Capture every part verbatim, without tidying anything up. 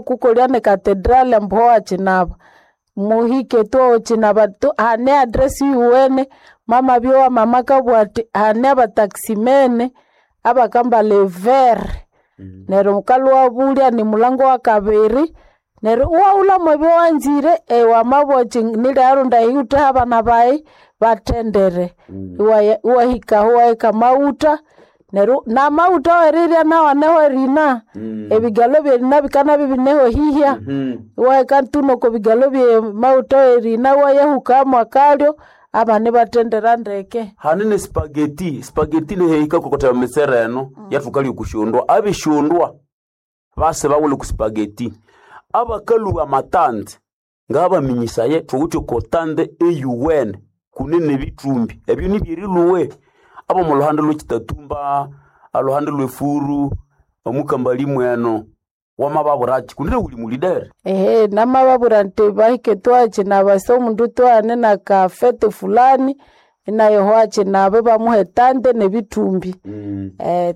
Kukolya ne cathedral ambu howakyinaba. Muhike tu owakyinaba tu hane address yuwene mama byowa mama akabugha athi hane abataximene abakambalha evere neryo wukalhwa iwabulya nimulango wakabiri neryo iwaghulhamu ebyawanzire wamabugha wuthi nilyarundi eyiwuthe abana bayi bathendere. Iwaya iwahikahu iwaheka amaghutha neryo namaghutha awerirya nawu aneho erina. Ebigalho ebyerina bikanabya ibineho hihya. Iwaheka tu nokwabigalho byamaghutha awerina iwayahukamu akalyo abana ibathendera ndeke. Hane ne spaghetti, spaghetti nehehika kutse emitsere eno yathukalya okusyondwa. Abesyondwa base baghulha oku spaghetti. Abakalhuba amatanzi ngabaminyisaya thuwithe oko tande eyuwene kunene ebithumbi. Ebyo nibyerilhuwe. Ab'omulhuhande olw'ekitatumba, olhuhande olw'efuru, omukambali mweno wamababwiraki kunene wuli mulidere. Ehe namababwira indi bahike twakyinaba ase omundu twaghane nakafete fulani inayoho akyinaba ibamuha etande nebithumbi.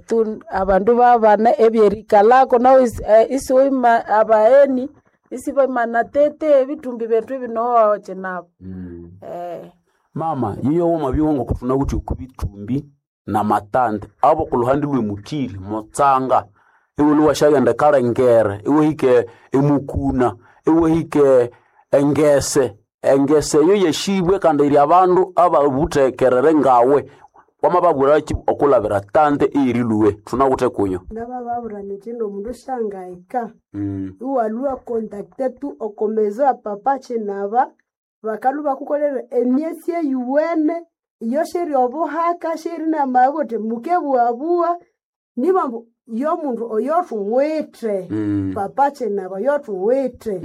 Tu abandu ibabana ebyerikalhako nahu isiwima abagheni isibamana tete ebithumbi bethu bino wakyinaba. Mama yiyo wamabya ngoku thunawithe oko bithumbi namatande ab'okulhuhande lw'emuthiri mutsanga iwulhwe iwasyaghenda ekalengere iwahika emukuna iwahika engese. Engese eyo yeshibwe kandi yiri abandu ababuthekerere ngawe. Wamababwiraki okulabira tande eyerilhuwe thunawithe kuyo. Ngamababwira nyithi nomundu syangahika iwalhwa contacta tu oko maison ya papa kyinaba bakalhwa ibakukolera emyesi eyuwene iyo syeri obuhaka syeri namabugha wuthi mukebughabugha nibambu yomundu oyothuwithe papa kyinaba oyothuwithe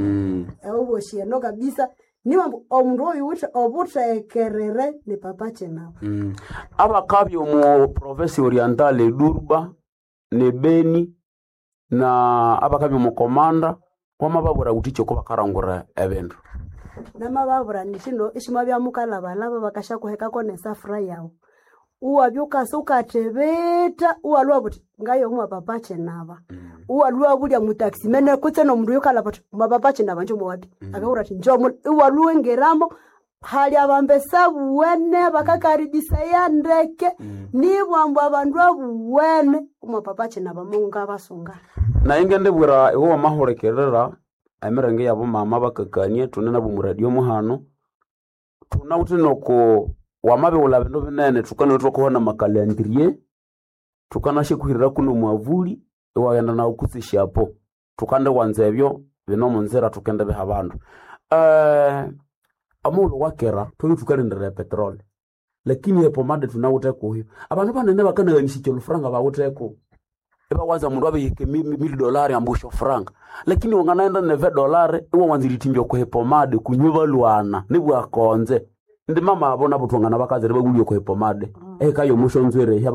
obosi eno kabisa nibambu omundu oyuwithe obuthekerere ni papa kyinaba. Abakabya omu province oriental edurba ne Beni na abakabya omu Komanda wamababwira wuthi kyi okobakarangura ebindu. Namababwira nyithi no isimwabya mukalhabalhaba bakasyakuhekako nesafura yawu iwabya wukasa wukathibitha iwalhwa wuthi ngayomo papa kyinaba iwalhwa iwabulya mutaximene kutse nomundu oyukalhaba athi mwapapa kyinaba njomuwapi akabugha athi njomu iwalhwa iwingiramo hali abambesa abuwene bakakaribisaya ndeke nibwambu abandu abuwene omwapapa kyinaba mungabasunga. Nayi ngendibwira iwe wamahulikirira emiringo eyabomama bakakania thune nabo omuradio muhano thunawithe noko wamabighulha bindu binene thukanalhwa ithwakuha namakalendriye thukanasyakuhiriraku nomwavuli iwaghenda nawu kutse esyapo. Thukandiwanza ebyo bine omunzira thukendibiha abandu. Omughulhu wakera thwabya thukalindirira epetrol lakini epomade thunawithe kuyo. Abandu banene bakanaghanisya olhufuranga bawitheko. Ibawanza omundu abihika mili dolari ambu syofuranga lakini wanganaghenda neve dolari iwawanza erithimbya okwa epomade kunywe balhwana nibwakonze. Indi mama abo nabo thwanganabakazira ibabulya okwa epomade ehika yomusyonzwiri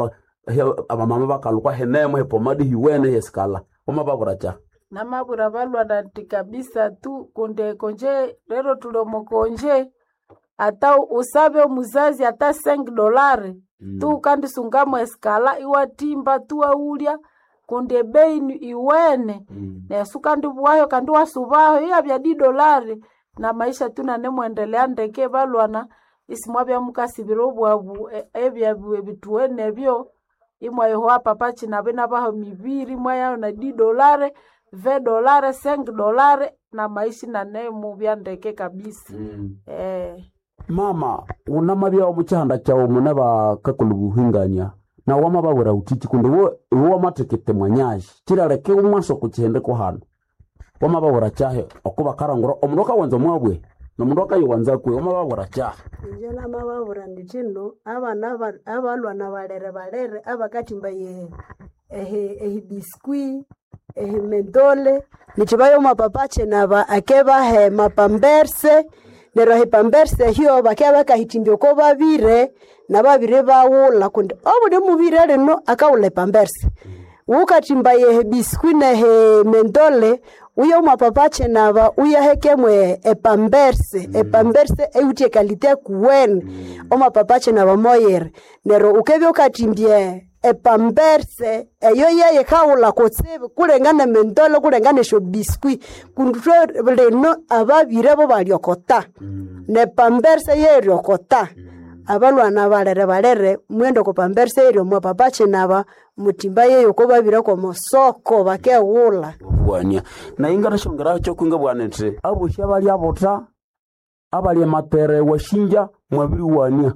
abamama bakalhukwa hinemo epomade hiwene eyesikalha. Wamababwira kyahi? Namabwira balhwana indi kabisa tu kundi ekonje lero thuli omokonje ata usabe omuzazi ata cinq dolari tu wukandisungamu esikalha iwathimba tu iwaghulya kundi ebei iwene neryo sukandibughayo kandi iwasubaho iyabya dix dolari namaisha tu inanemwendelea ndeke balhwana isimwabya mukasibira obwabu ebyabu ebithuwene ebyo imwayohowa papa kyinaba inabaha emibiri imwayayo na dix dolari, vingt dolari, cinq dolari namaisha inanemubya ndeke kabisa. Mama wunamabya omukyihanda kyawu mune bakakolha obuhingania nawu wamababwira wuthiki kundi iwe iwe wamathikitha mwanyazi kyiraleka iwamwasa okukihindiko hanu. Wamababwira kyahi okubakarangura omundu akawanza omwabwe nomundu akayiwanza kwihi wamababwira kyahi? Inje namababwira nyithi no abana abalhwana balere balere abakathimba ehibiscuit, ehimendole nithi baye omwa papa kyinaba akebaha amapamberse neryo ehipamberse ehyo bakabya bakahithimbya oko babire nababiri ibaghulha kundi obuli mubire lino akaghulha epamberse. Wukathimba ehibiscuit nehimendole wuye omwa papa kyinaba wuyahekemu epamberse, epamberse eyiwithe ekalite ekuwene omwa papa kyinaba moyiri. Neryo wukabya wukathimbya epamberse eyo yeye kawula kutsibu kulenga nemendolo kulenga nesyo biscuit kundi thwe lino ababire bo balyokota nepamberse yeryokota abalwana balere balere mwende oko pamberse yeryo mwa papa Chinaba mutimba yeyo ko babire komusoko bakeghula Bwania naye ngatashongeraho kyokwinga bwana nti abosi abali abota abali ematere washinja mwabiriwania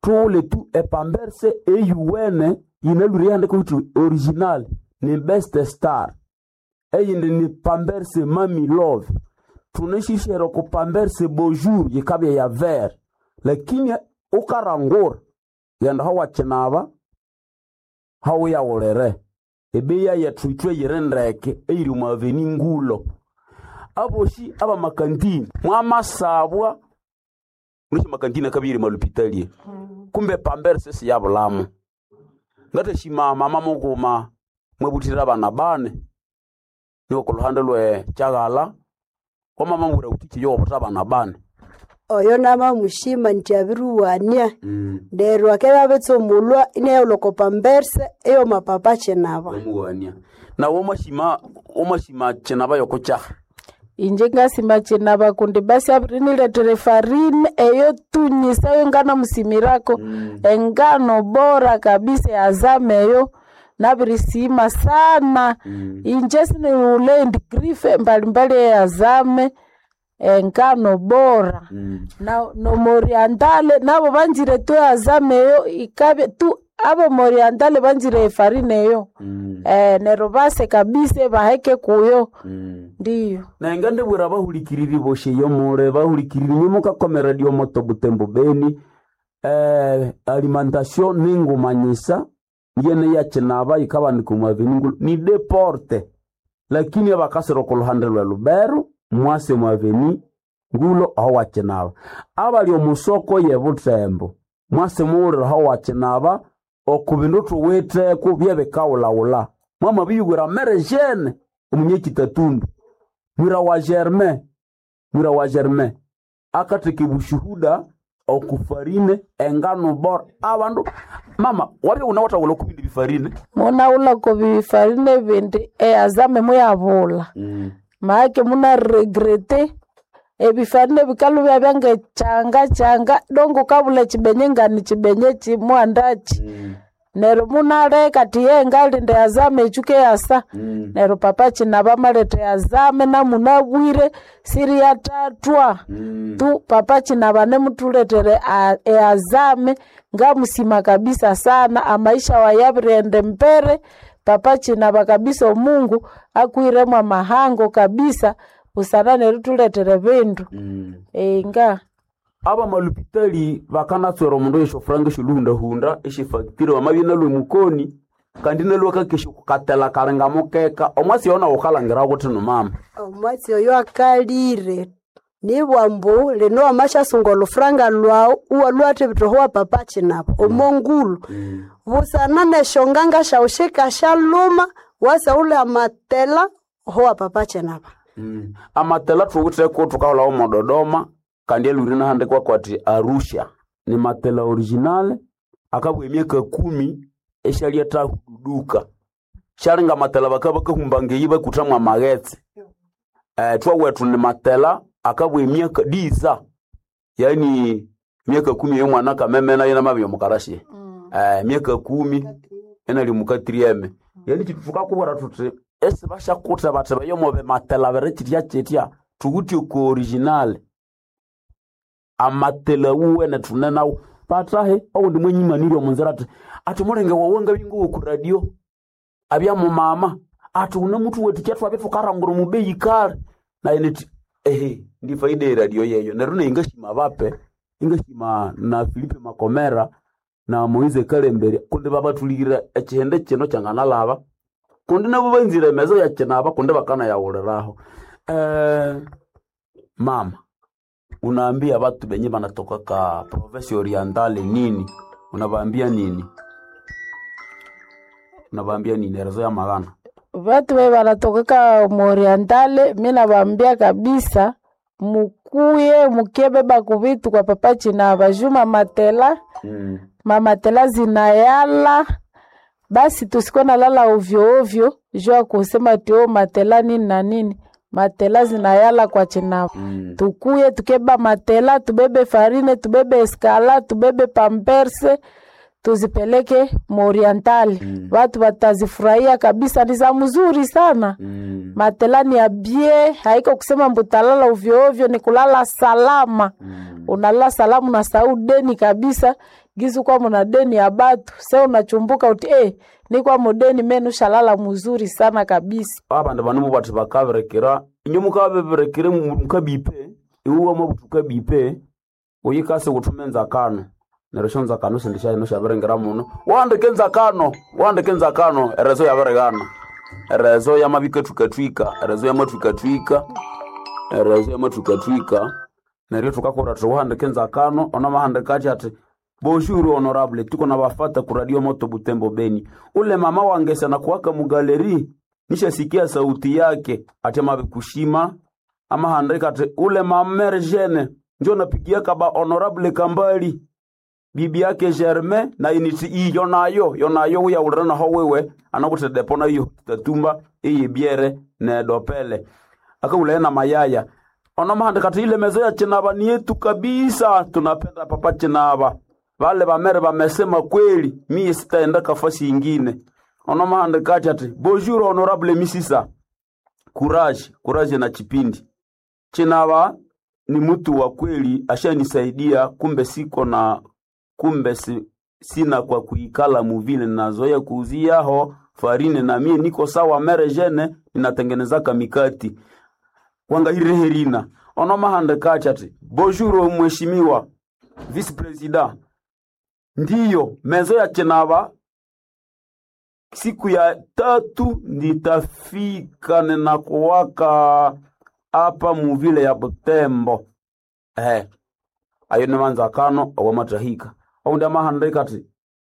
tuule tu epamberse eyuwene yinalwire yandika kuti original ni best star eyindi ni pamberse mami love tuneshishero ku pamberse bonjour yikabya ya ver lakini ukarangura yenda hawachinaba hawuyawulire ebeya yethu ithwe yiri ndeke eyiri omu aveni ngulo abosi abamakantini mwamasabwa mulishi makantini akabiri malupitalie kumbe pamberse siyabulamo ngatashima mama mukuma mwebuthira abana bane niwo kuluhande lwe kyaghala kwamama ngura utichi yobuta abana bane oyo namamushima nti abiriwania neryo akabya abitsumulwa inayolwa oko pamberse eyoma papa Chinaba omuwania nawe omashima omashima kinaba yokukyaha Inje ngasima Chinaba kundi basi abiriniletera efarine eyo tunyisayo nganamusimirako engano bora kabisa yazame eyo nabirisima sana inje siniwule endi grife mbalimbali eyazame engano bora na nomoriantale nabo banzire tu azame eyo ikabya tu abo moriantale banzire efarine eyo eh, neryo base kabisa baheke kuyo ndiyo nenga ndibwira bahulikiriri boshe yomule bahulikiriri nyomukakomera diomoto butembo beni eh, alimentation ningumanyisa yene yakinaba yikabanika omu aveni ngulu ni deporte lakini abakasira okuluhande lwe lubero mwase omu aveni ngulo aho wakinaba abali omusoko ye butembo mwase muwulira aho wakinaba oku bindu thuwitheko byebikawulawula mwamabiyuwira mere jene omunyekitatundu mwira wa germain mwira wa germain akatheka ebushuhuda okufarine engano bora abandu mama wabya unawathaghulha okubindi bifarine munaghulha kobifarine bindi eyazame muyabulha maake munaregrete ebifarine bikalubya byangechanga changa dongo kabula echibenye ngani chibenye chimwandachi neryo munaleka tiye ngalinda yazame echuke yasa neryo papa Chinaba maletha yazame namunabwire siri yatatwa tu papa Chinaba nemutuletere a- eyazame ngamusima kabisa sana amaisha wayabirende mbere papa Chinaba kabisa omungu akwiremo amahango kabisa busana nerituletere bindu enga aba malupitali bakanatswera omundu eshofuranga eshiluhundahunda eshifactory wamabya nalwe mukoni kandi nalwe kakesha kukatela kalinga mukeka omwasi yona wukalangira kuthi numama omwatsi oyo akalire nibwa mbu lino wamashasunga olufuranga lwawu iwalhuwathibitha owa papa Chinaba omongulu busana neshonganga shawu shikashaluma wasaghulha amatela owa papa Chinaba Mm. Amatela thuwitheko thukahulhawo mo Dodoma kandi alwire nahandikwa kwati Arusha ni matela original akabwa emyaka kumi eshalya thahududuka syalinga matela bakabya bakahumba ngeyi bakuthamu amaghetse eh, thwawethu ni matela akabwa emyaka diza yani myaka kumi ey'omwana akamemena yina omukarasi eh, myaka kumi enali mukatrieme yani kitu thukakubwira thuthi esi basyakutha bathi bayomobe matela bere kitya kitya thuwithe ku original amatela wuwene thune nawu patahe owundi mwenyimanire omunzira athi athi mulenge wawe ngabinguwo ku radio abya mumama athi une muthu wetu kyatwabya thukarangura mubeyi kale naye nithi ehe ndi faida eradio yeyo neryo naye ngashima bape ingashima na Filipe Makomera na Moise Kalembere kundi babathulikirira ekihende kino kyanganalaba kundi nabo banzire emezo yakinaba kundi bakanayawuliraho eh, mama unaambia batu benye banatoka ka province orientale nini unabaambia nini unabaambia nini erezo ya magana Vatu ve vanatokeka muorientale mi navambia kabisa mukuye mukebeba kuvitu kwa papa Chinava juma matela mm. mamatela zinayala Basi tusikuwe nalala ovyo ovyo juu ya kusema tio matela nini na nini. Matela zinayala kwa Chinava. Mm. Tukuye tukeba matela, tubebe farine, tubebe eskala, tubebe pamperse, tuzipeleke muorientali. Mm. Watu watazifurahia kabisa, ni za mzuri sana. Mm. Matela ni ya bie, haiko kusema mbutalala ovyo ovyo, ni kulala salama. Mm. Unalala salama, unasahau deni kabisa. Gizu kwa muna deni ya batu, se unachumbuka uti eh, ni kwa mudeni menu shalala mzuri sana kabisa. Abandu bano bati bakabirekera inyo mukabirekere mukabipe iwe mwabutuka bipe uyikase gutuma enzakano neryo syo nzakano sindi syaino syabiringira muno wandike enzakano wandike enzakano erezo yabirigana erezo yamabikathwikathwika erezo yamathwikathwika erezo yamathwikathwika neryo thukakura thuhandike enzakano onamahandika athi ati bonjour honorable tuko na bafata ku radio moto Butembo Beni ule mama wange sana kuwaka mugaleri nishasikia sauti yake ati mabikushima amahandika ati ule mamere jene njo napigia kaba honorable Kambali bibi yake Germain na initi iyo nayo yo nayo uyaulira naho wewe anakuti depona iyo tatumba iyi biere ne dopele akaulaye na mayaya onomahandika ati ile mezo ya Chinava ni yetu kabisa tunapenda papa Chinava vale vamere vamesema kweli mie sitaenda kafasi ingine onomahandika ati ati bonjour honorable misisa courage courage na chipindi Chinava ni mtu wa kweli ashanisaidia kumbe siko na kumbe si, sina kwa kuikala muvile nazoya kuuziaho farine na mie niko sawa mere jene ninatengenezaka mikati wangahireherina onomahandikachi ati bonjour mheshimiwa vice president ndiyo mezo ya Chinava siku ya tatu nitafika ninakuwaka apa muvile ya Butembo eh ayo ni manzakano owamatahika oundi amahandika ati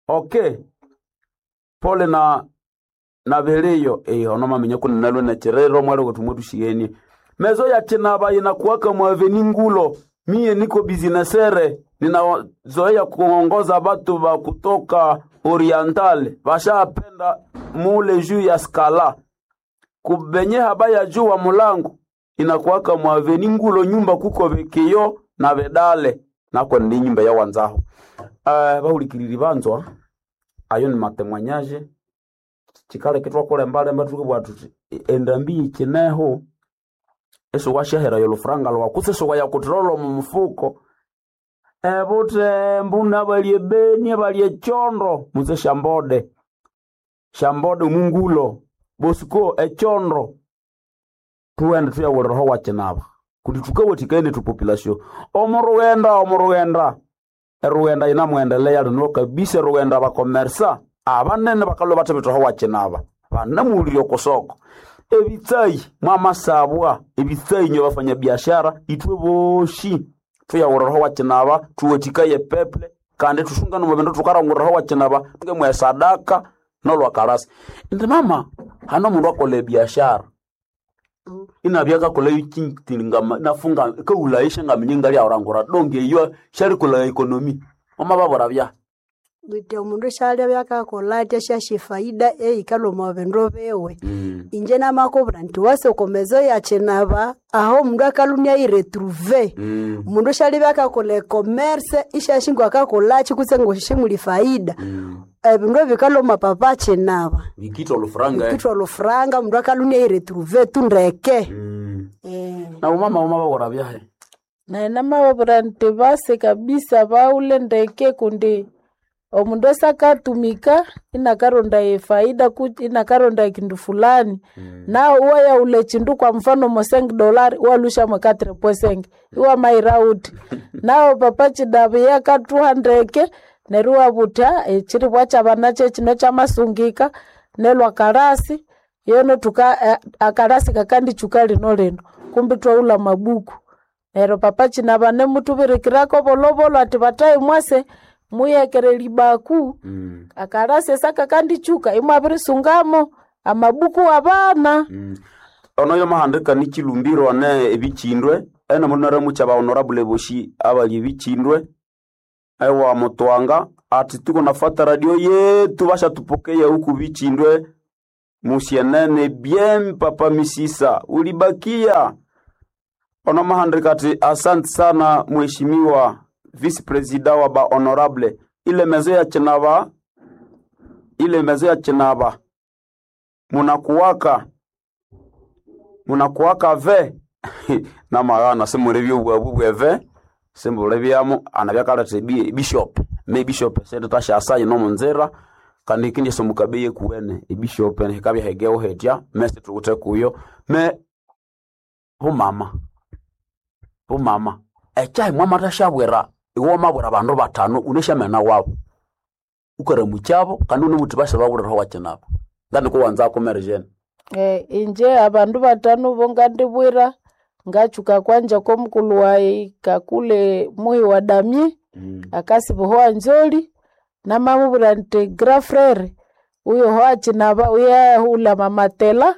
okay pole na na beleyo eh ono mamenya kuna nalwe na cherero mwali kutumwe tushigenie mezo ya Chinava inakuwaka mwaveni ngulo mie niko businessere ninazoea kuongoza batu ba kutoka oriental bashapenda mule juu ya skala kubenye haba ya juu wa mulango inakuwaka mwaveni ngulo nyumba kuko bekeyo na bedale nako ndi nyumba ya wanzaho uh, bahulikiriri banzwa ayo ni matemwanyaje chikaleke twakulembalemba tukibwa tuti endambi ichineho eso washahera yolufuranga lwaku sisi wayakutirolo mu mufuko ebutembu nabalye beni abalye chondo muze shambode shambode mungulo bosiko echondo tuwende tuyawuliraho wachinava kuti tukawathikaine tupopulation omurughenda omurughenda erughenda yinamwendelea lino kabisa erughenda bakomersa abanene bakalwa bathibithaho wachinava banamuwulirya okusoko ebitsayi mwamasabwa ebitsayi nyo bafanya biashara ithwe boshi tuyawuliraho wachinava tuwathikaye peple kandi tusungane omu bindu tukaranguriraho wachinava tungemwa esadaka nolwakalasa indi mama hano omundu akola ebiashara inabya kakola ikintingama nafunga kaulaisha ngaminya ngali aurangura donge iyo sharikola ekonomi omababora bya Wite omundu syalya byakakola atya syasya efaida eyikalha omo bindu biwe. mm. Inje namakubwira nti wase oko mezo ya Chinava aho omundu akalhunia ayiretrouve. Mm. Omundu syalya byakakolha ecommerce isyasya ngwakakolhakyi kutse ngwasyamuli faida. Mm. Ebindu ebikalhwa omo papa Chinava. Bikitha olufuranga eh. Bikithwa olufuranga omundu akalhunia ayiretrouve tu ndeke. mm. Eh. Na umama umababora byahe Na namababwira nti base kabisa baule ndeke kundi omundu esakatumika inakaronda efaida ku- inakaronda kindu fulani mm. nawe uwayaula chindu kwa mfano mosengi dolari walusha mwe quatre posengi iwa maira uti nawe papa chidavi yakatuha ndeke neryo iwabutha echiribwa kyabana kyekino kyamasungika nelwa kalasi yono tuka eh, akalasi kakandichuka lino lino kumbi twaula mabuku neryo papa chinava nemutubirikirako bolobolo ati batayi mwase muyekere libaku Mm. akalasi esa kakandichuka imwabirisungamo amabuku abana Mm. Ono yomahandika ni chilumbiro ne ebichindwe ena mundu naramucha ba honorable boshi abali ebichindwe ewa mutwanga ati tuko nafata radio yetu bashatupokea huku Vichindwe musienene bien papa Misisa ulibakia onomahandika ati asante sana mheshimiwa vice president wa ba honorable ile mezo ya Chinaba ile mezo ya Chinaba munakuwaka munakuwaka ve namagana simulibya obwabu bweve simbulibyamo anabyakaleta ebi bishop me bishop sente tashasaye nomunzira kandi ikindi somukabe kuwene ebishop hikabya hegeho hetya mese tuwuthe kuyo me bumama bumama ekyahi mwamathashabwira iwe wamabwira abandu batano uneshamena wabo ukaramukyabo kandi unebuthi bashabawuliraho wakinabo nganikuwanzako Mary Jane. Eh, inje abandu batano bo ngandibwira ngachuka kwanja komukulu wayi kakule muhi wa damie Mm. akasiba nzoli namamubwira nti grand frere uyo hoachinaba uyahula mamatela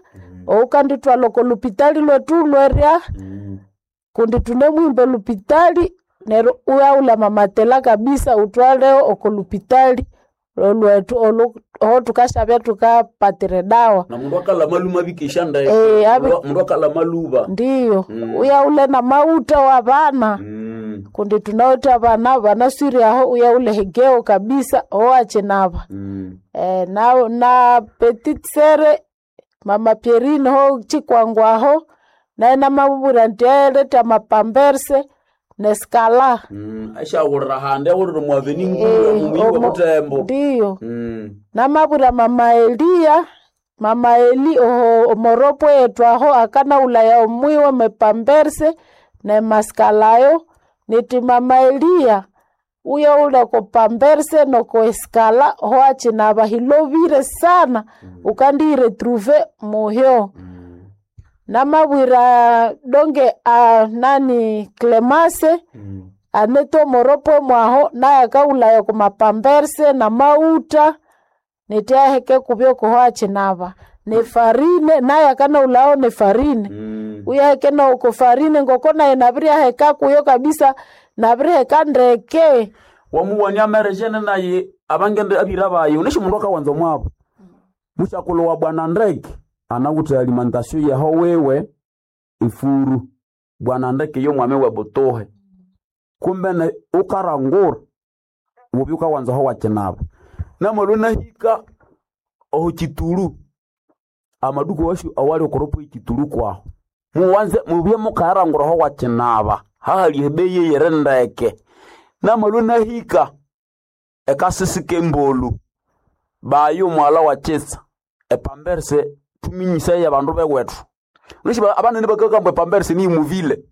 oukanditwala oko lupitali lwetu lwerya Mm. kundi tunemwimba lupitali neryo uyaula mamatela kabisa utwaleo oko lupitali lwetu olu oho tukashabya tukapatira dawa na mundu akala maluma bikisha ndaye Eh, abi- mundu akala maluba ndiyo Mm. uyaule na mauta wa vana mm. kundi tunawita vana vanaswiri aho uyaule hegeo kabisa oachinava Mm. e, na, na petit sere mama Pierine ho chikwangwaho naye namabubura nti aeleta mapamberse neskala Mm. aishawulira handi awulira mwaveni ngulu Eh, mumuyi wa omo- butembo ndiyo mm. namabura mama Eliya mama Eli oho omoropo yetu aho akana ulaya omwiwe mepamberse ne maskalayo niti mama Eliya uyo ule kopamberse noko eskala ho achinaba hilovire sana ukandiiretruve muhyo Mm. namabwira donge a nani Clemase Mm. aneto moropo mwaho naye akaulaya kumapamberse na mauta nitiaheke kubyo kuho achinava ne farine naye akanaulao ne farine Mm. uyaheke nauko farine ngoko naye naviriaheka kuyo kabisa naviriheka ndeke wamuwania Mary Jane naye abangende abira bayo unesho mundu akawanza mwabo mushakulu wa bwana ndeke anawutha alimentation yaho wewe ifuru bwana ndeke yo mwame wa butuhe kumbe ne ukarangura ubi ukawanza ho wakinaba namwelu nahika oho kitulu amaduku washu awali okoropo ikitulu kwaho muwanze mubye mukarangura ho wakinaba hahali ebeye yere ndeke namwelu nahika ekasisi kembolu bayo mwala wa chesa epamberse tuminyisa ya bandu bewethu Unishi abanene bakakamba epamberse ni muvile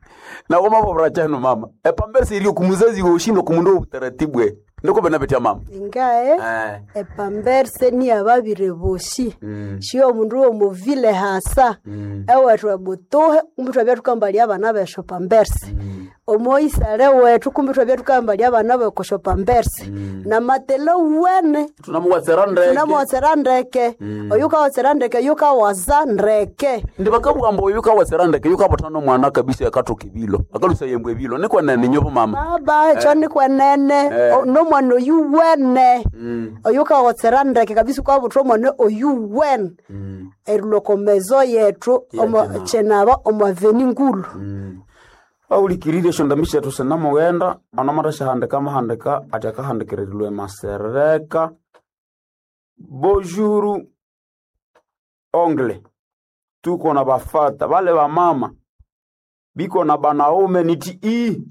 na woma bobra chano mama epamberse iri kumuzazi woshindo kumundo utaratibu e ndiko bena betya mama Ingae eh epamberse ni ababire boshi mm. shio omundu womuvile hasa mm. ewethu ebutuhe kumbi twabya tukambalya abana besho pamberse mm. omoisale wethu kumbi twabya tukambalya abana bekosho pamberse namatele wene tunamuwatsera ndeke tunamuwatsera ndeke oyu kawatsera ndeke yukawaza ndeke ndi bakabugamba oyu kawatsera ndeke yukabuthana omwana kabisa akathoka ebilo akalusa yembwa ebilo nikwenene nyobo mama baba ekyo nikwenene Eh. O- nomwana oyu wene mm. oyu kawatsera ndeke kabisa ukabutha omwana oyu wene mm. erilwa okomezo yethu omo- Chinaba. chinaba omwaveni ngulu aulikirire esyondambi syethu sinamughenda onomatha mahandika ati akahandikirirwe masereka bonjour ongle tuko na bafata bale bamama biko na banaume niti i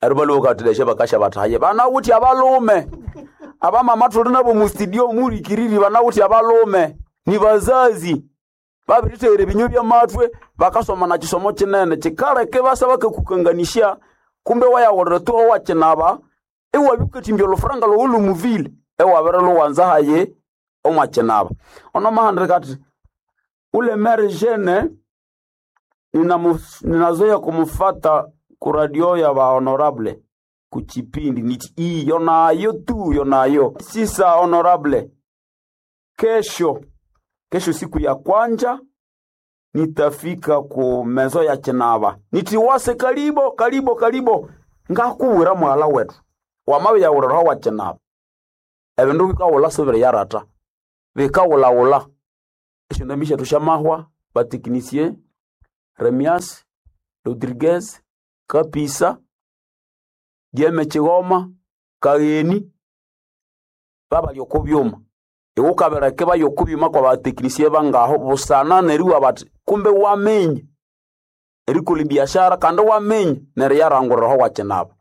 ero baluka bakasha bataye banawuthi abalume abamama tuli nabo mustudio mulikiriri banawuthi abalume ni bazazi babiritheghere ebinyo byamathwe bakasoma na kisomo kinene kikaleke basa bakakukanganisya kumbe wayawulira tu owakinaba iwabikathimbya olufuranga lwowu lumuvile ewabere luwanza haye omwakinaba onomahandika ati ule mere jeune ninamu- ninazoea kumufata kuradio ya ba honorable kuchipindi niti ii yonayo tu yonayo sisa honorable kesho kesho siku ya kwanja nitafika ku mezo ya chinaba nitiwase kalibo kalibo kalibo ngakuwira mwala wetu wamawe yauliraho wa chinaba Ebindu bikawula sibiri yarata. Bikawulawula. Esyondambi syethu syamahwa, bateknisie, Remias, Rodriguez, Kapisa, Dieme Kigoma, Kagheni, babali oko byuma. Iwe ukabireka ibaya oko byuma kwa bateknisie bangaho busana neriwa bati kumbe waminya erikolha ebiashara kandi waminya neryo yaranguriraho wakinaba.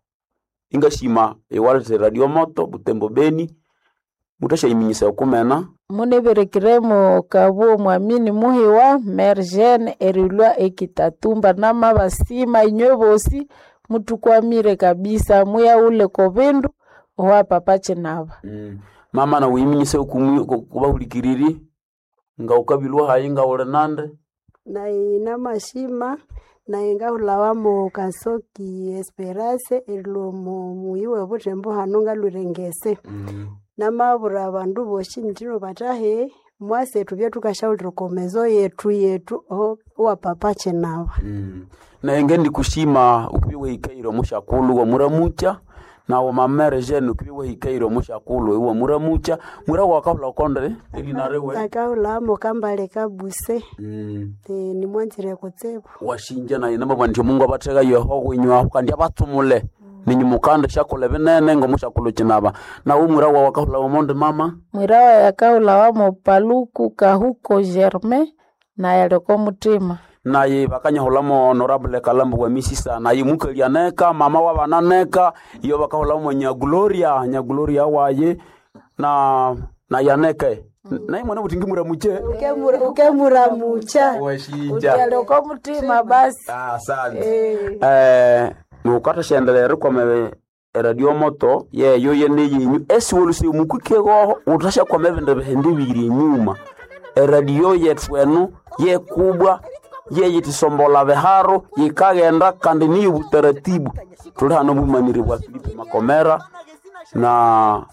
Ingashima iwaleta radio moto Butembo Beni muthasyayimenyesaya okumena Muneberekiremo kabuo mwamini muhiwa Mergene erilwa ekitatumba namabasima inywe bosi mutukwamire kabisa muyaule ko bindu owa papa Chinaba. Mm. Mama nawe uyimenyesaya okubahulikiriri nga wukabilwa hayi nga wuli nande Naye namashima naye ngahulhawa Kasoki Esperance erilwa omu muyi w'ebuthembo hano ngalhwire ngese. Namabwira abandu bosi indi bathahe mwase ithubye thukasyaghulira oko mezo yethu yethu oho owa Papa Chinaba. Mm. Naye ngendikushima ukubya wahikaire omusyakulhu wamuramukya nawe mama Jane ukubya wahikaire omusyakulhu iwamuramukya mwira wakahulha okonde erina riwe Akahulhamo Kambale Kabuse mm. eh, nimwanzire kutsibu. Washinja naye namabwa nti omungu abatheka yeho winywaho kandi abatsumule ninyu mukanda syakolha ebinene ngomusyakulhu kinaba nawe mwira wawu akahulha omondi mama Mwirawa yakahulhawa Paluku Kahuko Germain naye ali oko muthima. Naye bakanyahulamo honorable Kalambo wa misisa naye mukali aneka mama wabana neka iyo bakahulamo nya Gloria nya Gloria waye na na yaneke naye mwana butingi muramuche Ukemuramucha. Washinja Ali oko muthima basi. Asante eh mukatha rikwama eradio moto yeyo yene yenyu esiwolusi mukikegoho uthashakwama ebindu bihindi biri enyuma eradio yethu enu yekubwa yeyithisombolha biharo yikaghenda kandi niyo butaratibu tuli hano obumaniri bwa Filipo Makomera na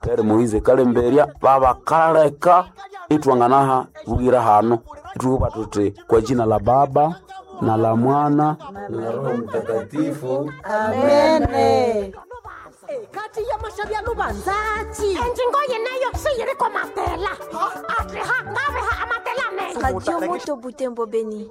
Pere Moise Kalemberia babakaleka itwanganaha bwira hano ithuba tuti kwa jina la Baba na la Mwana na la Roho Mtakatifu. Amene. Kati ya mashabyalo banzachi enjingo yeneyo siyiriko matela atliha ngabeha amatela mengi Radio Moto Butembo Beni.